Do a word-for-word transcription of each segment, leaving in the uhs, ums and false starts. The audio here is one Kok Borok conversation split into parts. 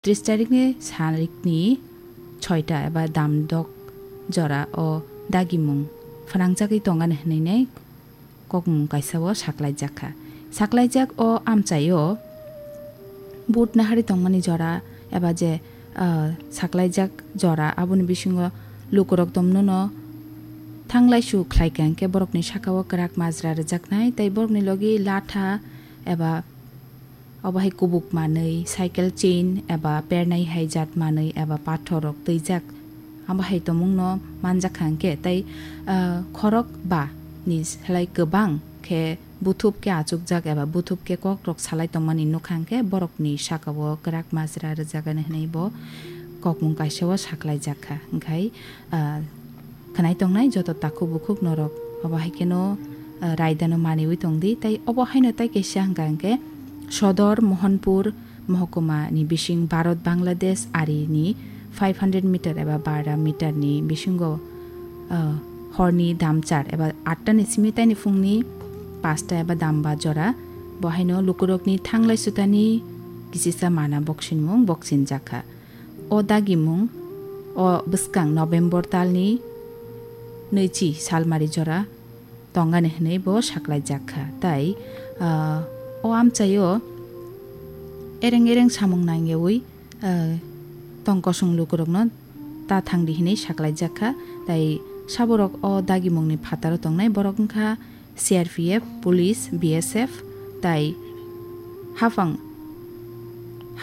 Tris tarikni sarikni soita eba damdok jora o dagimung phnangjagwi tongani hwnwi kokmung kaisa o saklaijak kha. Saklaijak o amchaio vote nahari tongmani jora eba je, ah, saklaijak jora aboni bisingo lukurok tomnono thanglaisu khlaikha hwnkhe borokni sakao kwrak majra rwjaknai tei borokni logi latha eba obo hai kubuk manwi, cycle chain eba pernai hai jat manwi eba pathor rok twijak, abo hai tongmungno manjakha hwnkhe tei, ah, khorok ba ni slai kwbang khe buthup khe achukjak eba buthup khe kokrok salai tongmani nukha hwnkhe borokni sakao kwrak majra rwjagani hwnwi bo kokmung kaisa o saklaijak kha. Hwnkhe, ah, khwnai tongnai joto takhuk bukhuk norok obo hai kheno, ah, raidano maniwi tongdi. Tei obo haino tai kaisa hwnkha hwnkhe Sodor Mohanpur mohokuma ni bising Bharat Bangladesh ari ni five hundred meter eba bara meter ni bisingo, ah, horni damchar eba atta ni simi taini phungni pasta eba damba jora bo haino lukurokni thanglai sutani kisisa mana boksinmung boksinjak kha. O dagimung o bwskang November talni nwichi salmari jora tongani hwnwi bo saklaijak kha. Tai, ah, o amchaio ereng ereng samung nangyawi, ah, tong kosong lukurokno ta thangdi hwnwi saklaijak kha. Tai saborok o dagimungni phataro tongnai borok wngkha C R P F, police, B S F, tai haphang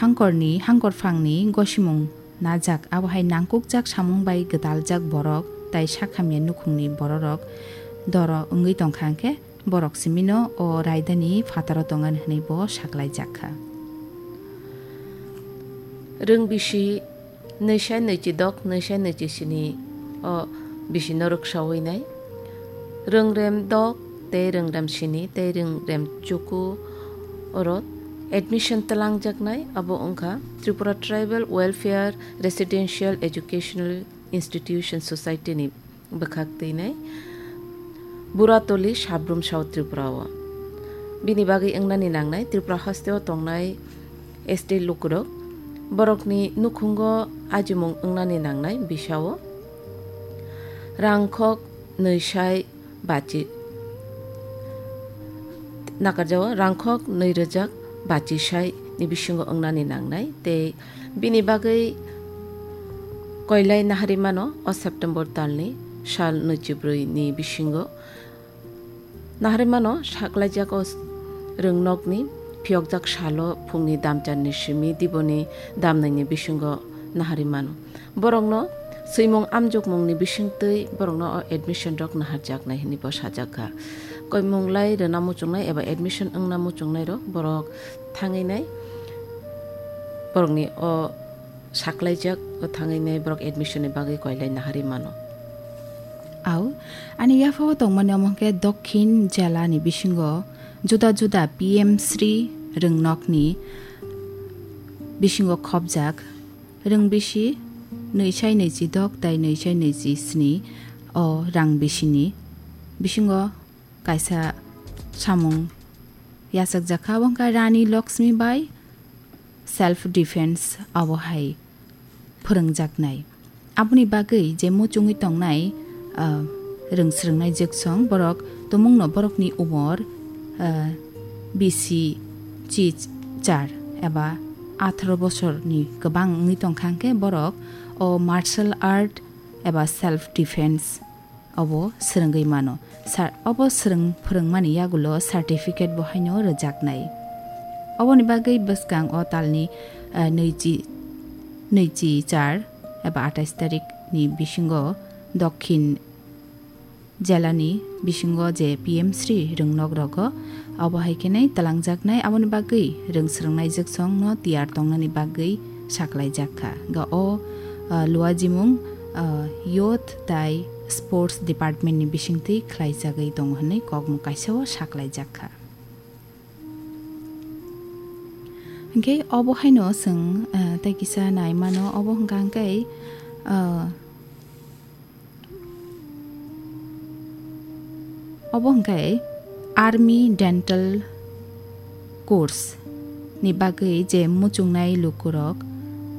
hangkorni, hangkorphangni gosimung najak, abo hai nangkukjak samung bai gwdaljak borok tai sakhamya nukhungni bororok doro wngwi tongkha hwnkhe borok simino o raidani phataro tongani hwnwi bo saklaijak kha. Rwng bisi nwisai nwichi dok, nwisai nwichi sini o bisi no rwksawi nai. Rwngrem dok tei rwngrem sini tei rwngrem chuku oro admission twlangjaknai, abo wngkha Tripura Tribal Welfare Residential Educational Institution Society ni bwkhak twinai Buratoli Sabrum South Tripura o. Bini bagwi wngnani nangnai Tripura hasteo tongnai S T lukurok. Borokni nukhungo ajimung wngnani nangnai bisao rangkhok nwisai bachi nakarjao, rangkhok nwi rwjak bachi sai ni bisingo wngnani nangnai tei bini bagwi koilai nahari mano o September talni sal nwichibrwi ni bisingo. Nahari mano saklaijak o rwngnokni phiyokjak salo phungni damcharni simi diboni damnaini bisingo nahari mano. Borokno swimung amjokmungni bisingtwi borokno o admission rok naharjaknai hwnwi bo sajakha. Koimung lai rwna muchungnai eba admission wngna muchungnai rok borok thangwi nai borokni o saklaijak o thangwi nai borok admission ni bagwi koilai nahari mano. Au, ani yaphao tongmani omo hwnkhe Dokhin jela ni bisingo juda juda P M Shri rwngnokni bisingo khopjak rwng bisi nwisai nwichi dok tai nwisai nwichi sni o rang bisini bisingo kaisa samung yachakjak kha, abo wngkha Rani Lakshmi Bai self defense abo hai phwrwngjaknai. Aboni bagwi je muchungwi tongnai, ah, rwng swrwngnai jwksong borok tumungno borokni umor, ah, bisi chi char eba atharo bosorni kwbang wngwi tongkha hwnkhe borok o martial art eba self defense obo swrwngwi mano. Sa-, obo swrwng phwrwngmani yagulo certificate bo haino rwjaknai. Oboni bagwi bwskang o talni, eh, nwichi, nwichi char eba atais tarik ni bisingo Dokhin jelani bisingo je P M Shri rwngnok rogo obo hai khe nai twlangjaknai, aboni bagwi rwng swrwngnai jwksong no tiyar tongnani bagwi saklaijak kha. Ga o, ah, luajimung, ah, Youth tai Sports Department ni bisingtwi khlaijagwi tongo hwnwi kokmung kaisa o saklaijak kha. Hwnkhe obo haino chwng, ah, tei kisa nai mano, obo hwnkha hwnkhe, ah, Obo hwnkhe Army Dental Course ni bagwi je muchungnai lukurok